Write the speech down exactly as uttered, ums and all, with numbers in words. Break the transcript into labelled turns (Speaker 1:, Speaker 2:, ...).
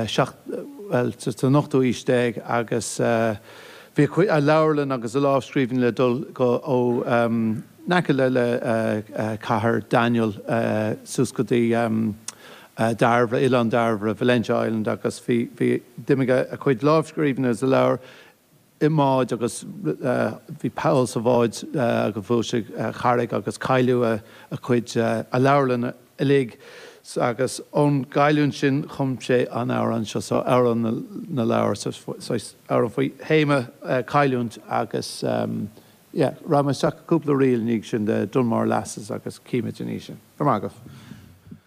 Speaker 1: seacht bhuel san ochtú aois déag agus bhí a leabharlann agus a lámhscríbhinn le dul go ó in aice le le cathair Daniel suas go dtí Dairbhre, Oileán Dairbhre, Valentia Island agus bhí bhí d'imigh a chuid lámhscríbhinn agus a leabhar i mbád agus bhí poll sa bhád agus bhuail sé carraig agus cailleadh a chuid a leabharlann uilig agus ón gcailliúint sin chum sé an amhrán seo so amhrán na leabhar amhrán faoi théama cailliúint agus yeah, rachaidh mé isteach cúpla ríl ina dhiaidh sin de Dunmore Lasses agus címid in sin. Go maith.